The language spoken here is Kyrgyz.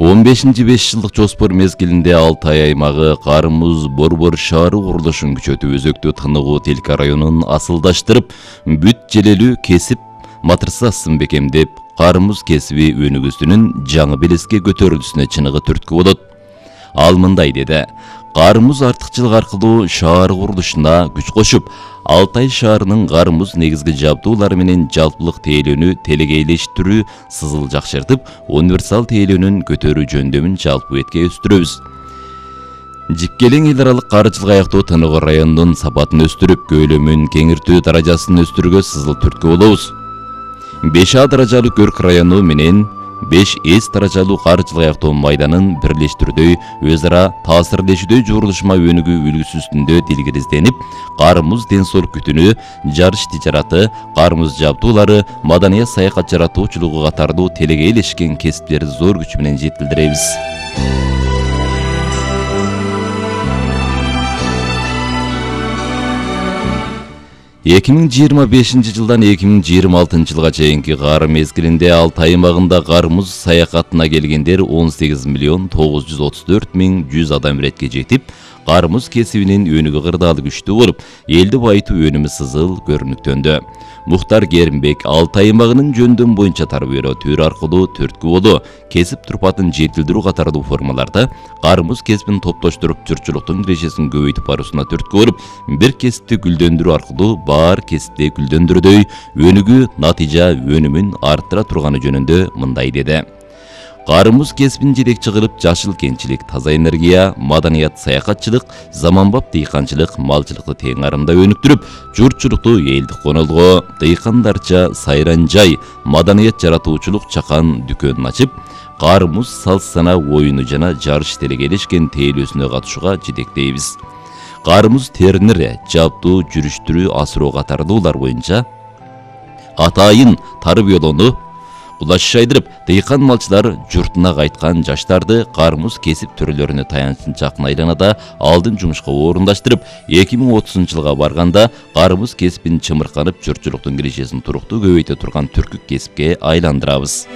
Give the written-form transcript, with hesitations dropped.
15-5 жылдык жоспор мезгилинде Алтай аймагы Кармуз Борбор шаары курулушун күчөтүп, өзөктү Тыныгуу Телка районун асылдаштырып, бүт желелүү кесип матырсасын бекемдеп, Кармуз кесиби өнүгүүсүнүн жаңы белеске көтөрүлүшүнө чыныгы түрткү болот. Ал мындай деди: Кармуз артыкчылык аркылуу шаар курулушуна күч кошуп, Алтай шаарынын Кармуз негизги жабдуулары менен жалпылык тейлөөнү телегейлештирүү, сызыл жакшыртып, универсал тейлөөнүн көтөрүү жөндөмүн жалпы бетке өстүрөбүз. Жипкелең эл аралык каржылык аяктоо Тыныгуу районунун сапатын өстүрүп, көйлөмүн кеңиртүү даражасын өстүрүүгө сызыл түрткү болобуз. 5А даражалуу Көрк району менен 5С даражалуу каржылык аяктоо майданын бирлештирүүдөй, өз ара таасирлешүүдөй журулушма өнүгүү үлгүсү үстүндө тилгиризденип, Кармуз ден соолук күтүнү, жарыш тижараты, Кармуз жабдуулары, маданият саякат жаратуучулугу катарлуу телегейлешкен кесиптерди зор күч менен жетилдиребиз. 2025 жылдан 2026 жылга чейинки кар мезгилинде Алтай аймагында Кармуз саякатына келгендер 18 миллион 934 миң 100 адам иретке жетип, Кармуз кесибинин өнүгүү кырдаалы күчтүү болуп, элди байытуу өнүмү сызыл көрүнүктөндү. Мухтар Керимбек Алтай аймагынын жөндөм боюнча тарбиялоо төр аркылуу түрткү болуу, кесип турпатын жетилдирүү катарлуу формаларда Кармуз кесибин топтоштуруп, журтчулуктун кирешесин көбөйтүп баруусуна түрткү болуп, бир кесипти гүлдөндүрүү аркылуу баар кесипти гүлдөндүрүүдөй өнүгүү натыйжа өнүмүн арттыра турганы жөнүндө мындай деди: Кармуз кесибин жетекчи кылып, жашыл кенчилик, таза энергия, маданият саякатчылык, заманбап дыйканчылык, малчылыкты тең арымда өнүктүрүп, журтчулукту элдик конолго, дыйкандарча сайран жай, маданият жаратуучулук чакан дүкөнүн ачып, Кармуз салт-сана оюну жана жарыш телегейлешкен тейлөөсүнө катышууга жетектейбиз. Кармуз тернери, жабдуу, жүрүштүрүү, асыроо катарлуулар боюнча атайын тарбиялоону кулаш шайдырып, дыйкан малчылар журтуна кайткан жаштарды Кармуз кесип түрлөрүнө таянычакын айланада алдын жумушка орундаштырып, 2030 жылга барганда Кармуз кесибин чымырканып, журтчулуктун кирешесин туруктуу көбөйтө турган түркүк кесипке айландырабыз.